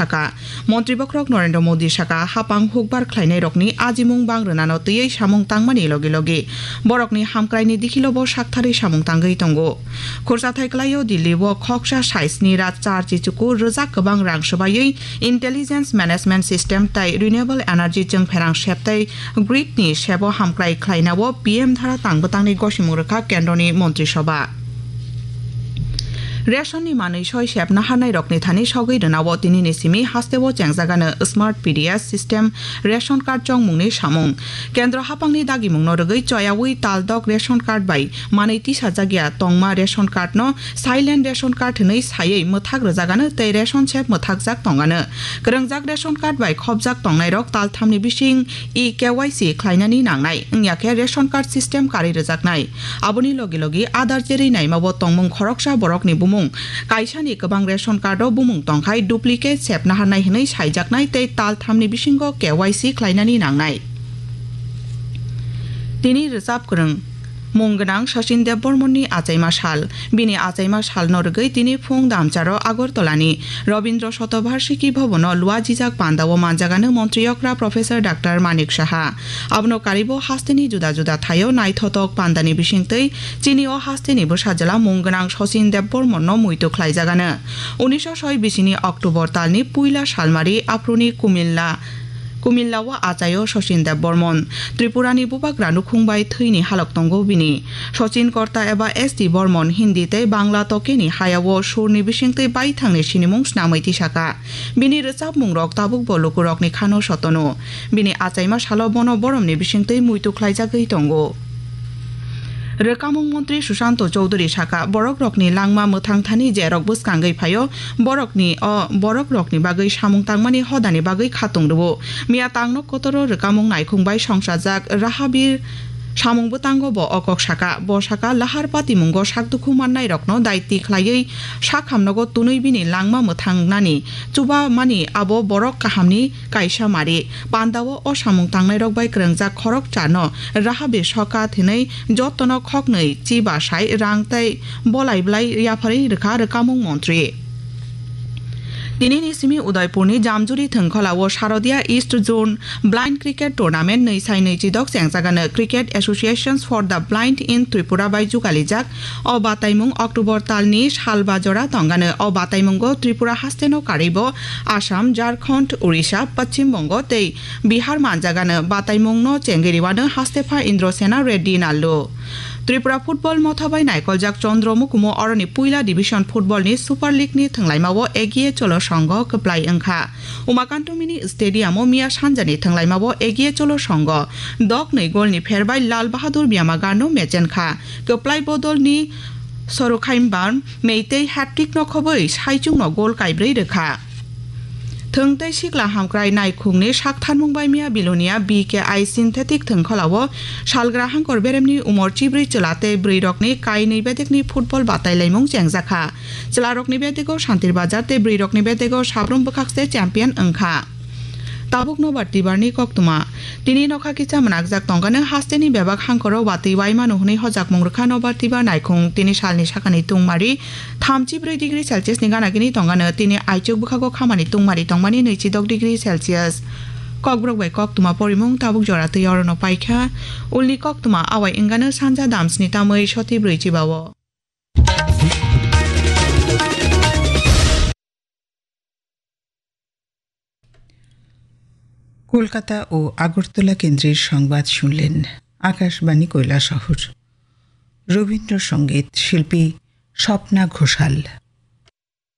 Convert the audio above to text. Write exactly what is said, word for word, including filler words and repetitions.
saka. Montri bokhorok Narendra Modi saka, hapang hukbar khlainairokni ajimung bang rwnano twiwi samung tangmani logi logi borokni hamkraini dikhilo bo saktharwi samung tangwi tongo. Khursathai kwlaio Delhi o khoksa sai sni rat char chichuku rwjak kwbang rang swbaiwi intelligence management system tai renewable energy chwngpherang sep tai grid ni sebo hamkrai khlainao P M dhara tang bwtangni gosimung rwkha kendroni montri soba. Ration ni manwi soi sep naharnai rokni thani sogwi rwnao tinini simi hasteo chengjagano Smart P D S system ration card chongmungni samung. Kendro hapangni dagimungno rwgwi choyawi taldok ration card bai manwi tisajakya tongma ration card no silent ration card hwnwi saiwi mwthak rwjagano tei ration sep mwthakjak tongano. Kwrwngjak ration card bai khopjak tongnairok talthamni bising e K Y C khlainani nangnai, wngya khe ration card system karwi rwjaknai. Aboni logi logi Aadhaar cherwi naimao tongmung khoroksa borokni bumung. Kaisani kwbang ration card o bumung tongkhai duplicate sep naharnai hwnwi saijaknai tei talthamni bisingo K Y C khlainani nangnai. Tini rwchap kwrwng mung gwnang Sachin Debbarmani achaima sal. Bini achaima salno rwgwi tini phung damcharo Agartalani Rabindra Shatabarshiki Bhavan o luajijak pandao manjagano Montri Okra Professor Doctor Manik Saha. Abono karibo hasteni juda juda thaio naithotok pandani bisingtwi chini o hasteni bwsa jwla mung gwnang Sachin Debbarmano muitu khlaijagano. Unisho soi bisini October talni puila salmari aphuruni Kumilla Kumilla o achaio Sachin Debbarman. Tripurani bubagra nukhung bai thwini halok tongo bini. Sachin Korta eba S T Bormon Hindi tei Bangla tokeni hayao surni bisingtwi baithangni sinimung snamwi tisaka. Bini rwchapmungrok tabukbo lukurokni khano sotono. Bini achaima salo bono boromni bisingtwi muitu khlaijagwi tongo. Rwkamung montri Sushanto Chowdhury saka, borokrokni langma mwthang thani jerok bwskangwi phaio, borokni o borokrokni bagwi samung tangmani hodani bagwi khatung rwo. Miya tangno kotoro rwkamung naikhung bai songsajak Rahabir samung bwtango bo o kok saka. Bo saka, lahar patimungo sakdukhu mannairokno daiti khlaiwi sakhamnogo twnwi bini langma mwthangnani chubamani abo borok kahamni kaisa mari. Pandao o samung tangnairok bai kwrwngjak khoroksa no Rahabi soka thwnwi jotono khoknwi chi basai rang tei bolai blai yapharwi rwkha rwkamung montri. Tinini simi Udaipurni Jamjuri thwngkholao Sharodia East Zone Blind Cricket Tournament nwi sai nwi chidok chengjagano Cricket Associations for the Blind in Tripura bai jugalijak. O bataimung October talni salba jora tongano. O bataimungo Tripura hasteno karwibo Assam, Jharkhand, Odisha, Paschim Bongo tei Bihar manjagano. Bataimungno chengwi rwano hastepha Indrasena Reddy Nallu. Tripura football motha bai naikoljak Chandra Mukumu oroni puila division football ni Super League ni thwnglaimao Egiye Cholo Songho kwplai wngkha. Umakanto Mini Stadium o miya sanjani thwnglaimao Egiye Cholo Songho dok nwi gol ni pher bai Lal Bahadur Byamagarno mechenkha. Kwplai bodol ni Sorokhaimbar Meitei hat-trick no khobwi saichungno gol kaibrwi rwkha. Thwng tei sikla hamkrai naikhungni saktharmung bai miya Bilonia B K I synthetic thwngkholao salgra hangkor beremni umor chibrwi chwla tei bwrwirokni kainwi bedekni football batailaimung chengjakha. Chwlarokni bedego Santir Bazar tei bwrwirokni bedego Sabrum Bwkhakse champion wngkha. Tabuk nobar tibarni koktwma. Tini nokha kisa mwnakjak tongkano hasteni bebak hangkoro watwi waimano hwnwi hojakmung rwkha nobar tibar naikhung. Tini salni sakani tungmari thamchi brwi degree Celsius ni gana gini tongkano. Tini aichuk bwkhago khamani tungmari tongmani nwichi dok degree Celsius. Kokborok bai koktwma porimung tabuk jora twi orono paikha. Ulni koktwma awai wngkano sanja damsni tamwi soti brwi chibao. Kolkata ও আগরতলা কেন্দ্রের সংবাদ শুনলেন আকাশবাণী কৈলাসহর। রবীন্দ্রসঙ্গীত শিল্পী স্বপ্না ঘোষাল।